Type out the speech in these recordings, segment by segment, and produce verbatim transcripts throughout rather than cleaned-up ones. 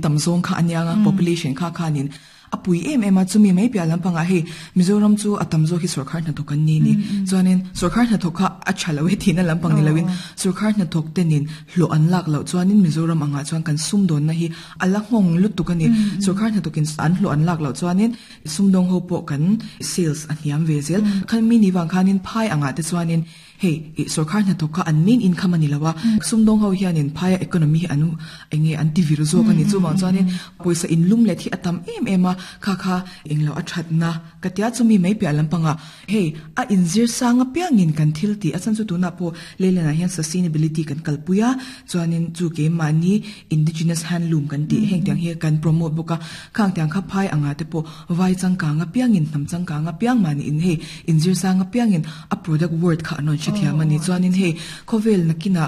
Tamzong kha anianga population kha khanin apui em em a chumi mai pia lampanga hei Mizoram chu atam zo hi sarkar hna thokan ni ni chuanin sarkar hna thok kha a thalo he thina lampang ni lawin sarkar hna thok tenin hlo an lak lo chuanin Mizoram anga chuan kan sum don na hi ala ngong lutuk ani sarkar hna thokin an hlo an lak lo chuanin sumdong ho po kan sales a hiam vezel khan mi ni wang khanin phai anga te chuanin hei sarkar hna thok kha an main income ani lawa sumdong ho hianin phai economy anu enge anti virus zo kan ni chu wang chuanin poisa in lum le thi atam em em a kha kha englo a thatna katia chumi mai pia lampanga hei a inzir sanga piangin kan thil ti achan chu tuna po lelena hian sustainability kan kalpuya chuanin chu ke mani indigenous handloom kan ti heng tiang hi kan promote boka khang tiang kha phai anga te po vai changka nga piangin nam changka nga piang mani in hei inzir sanga piangin a product word kha anon thia mani chuanin hei khovel nakina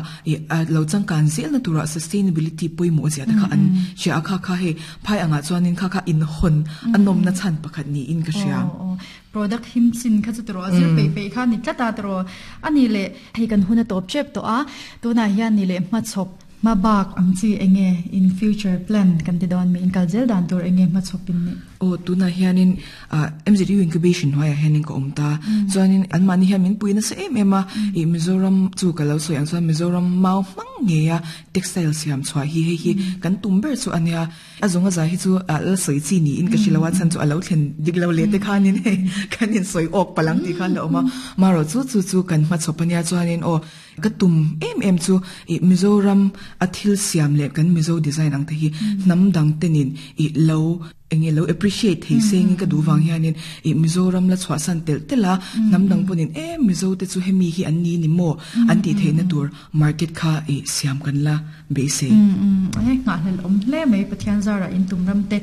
lo changkan zel na tura sustainability poimo zia ta kha an sha kha kha hei phai anga chuanin kha kha in hon anom na chan pakhat ni in ka sia product him sin kha chu tro azir pe pe kha ni tlata tro ani le hei kan huna top chep to a to na hian ni le ma chop ma bak ang chi enge in future plan kan ti don mi in kalzel dan tur enge ma chopin ni o tuna hianin M Z U incubation hoya hianin ko omta chuanin an mani hian min puina sa em ema i Mizoram chu ka lo soi ang chuan Mizoram mau mang nge ya textile siam chwa hi he hi kan tumber chu ania azonga za hi chu la soi chi ni in ka shilawa chan chu alo thlen diklo le te khanin he kanin soi ok palang ti khan la oma maro chu chu chu kan ma chopania chuanin o ka tum em em chu i Mizoram a thil siam le kan Mizo design ang te hi nam dang tenin i lo enge lo appreciate thei seng ka duwang hianin i Mizoram la chwa san tel tela nam dang ponin e Mizo te chu hemi hi an ni ni mo an ti theina tur market kha e siam kan la be se e nga hlel om hle mai Pathian zara in tumram te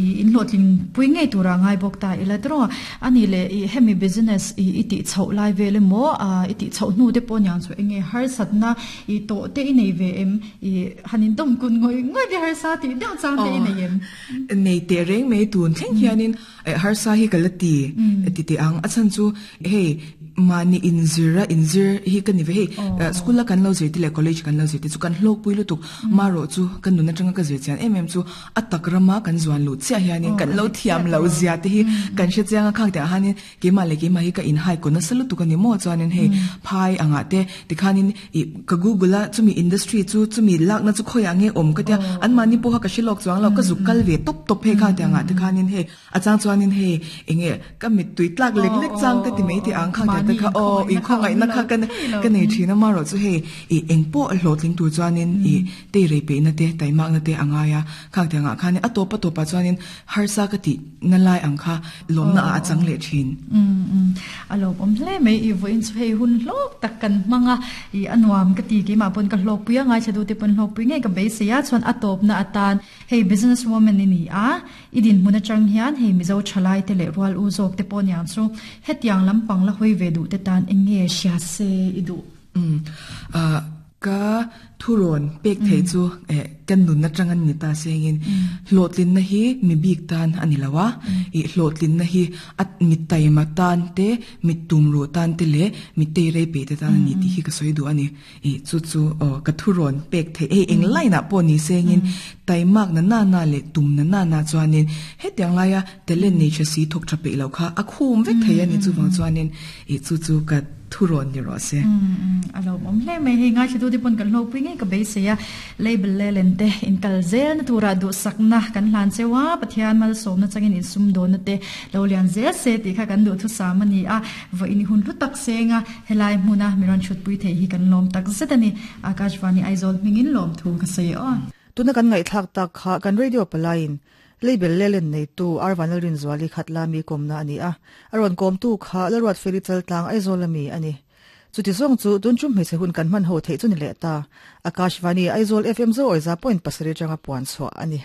i in lotling pui ngei tura ngai bok ta ila tro ani le i hemi business i iti chho lai vele mo a iti chho nu te pon yang chu enge har satna i to te i nei ve em i hanin dom kun ngoi ngoi de har sa ti dang chang te i nei em nei te reng mei tun thleng hianin har sa hi kalati ti ti ang achan chu hei mani inzira inzir hi kan ni ve hei school la kan lo zir ti le college kan lo zir ti chu kan hlok pui lutuk maro chu kan nuna tanga ka zir chian em em chu atak rama kan zuan lu chia hianin kan lo thiam lo zia te hi kan hre chianga khang te hanin ke ma le ke ma hi ka in hai ko na salu tu kan ni mo chuanin hei phai anga te tikhanin ka google a chumi industry chu chumi lak na chu khoya nge om ka tia an mani po ha ka shilok chuang lo ka zukal ve top top he khang te anga tikhanin hei achang chuanin hei enge ka mit tui tlak lek lek chang te ti mei ti ang khang te kha o in khongai na kha kan kan nei thina ma ro chu hei i engpo hlotling tu chuanin i te re pe na te taimak na te angaya khang te anga khani atopa topa chuanin harsa ka ti na lai ang kha lom na a chang le thin um um alo om hle mai i voin chu hei hun hlok tak kan manga i anuam ka ti ki ma pon ka hlok puya ngai chadu te pon hlok pui nge ka be se ya chuan atop na atan hei business woman ni ni a idin hmuna chang hian hei Mizo thalai te le rual u zok te pon yang chu hetiang lampang la hoi ve du te tan enge sia se idu um a ka thuron pek thei chu e kan nun na changan ni ta sengin hlotlin na hi mi bik tan ani lawa i hlotlin na hi at mi taima tan te mi tumro tan te le mi te rei pe te tan ni ti hi ka soi du ani i chu chu o ka thuron pek thei e eng lai na po ni sengin taimak na na na le tum na na na chuanin hetiang laia talent nature si thok tha pe lo kha a khum vek thei ani chu wang chuanin i chu chu ka thuron ni ro se um alo om hle mai hei ngai chu te pon kan hlok pui nge ka be se ya label le len te in kal zel na tura du sakna kan hlan chewa Pathian mal som na changin in sum don na te lo lian zel se ti kha kan du thu samani a vo in hun lu tak senga helai hmuna miron chut pui the hi kan lom tak zetani Akashvani Aizawl mingin lom thu ka sei o tuna kan ngai thak tak kha kan radio palain label lelen nei tu arvanal rin zwali khatla mi komna ani a aron kom tu kha larwat felichal tlang Aizawl ami ani chuti zong chu tun chum hmeichhe hun kan man ho thei chu ni le ta Akashvani Aizawl F M zo oiza point pasarih changa puan chhuah ani.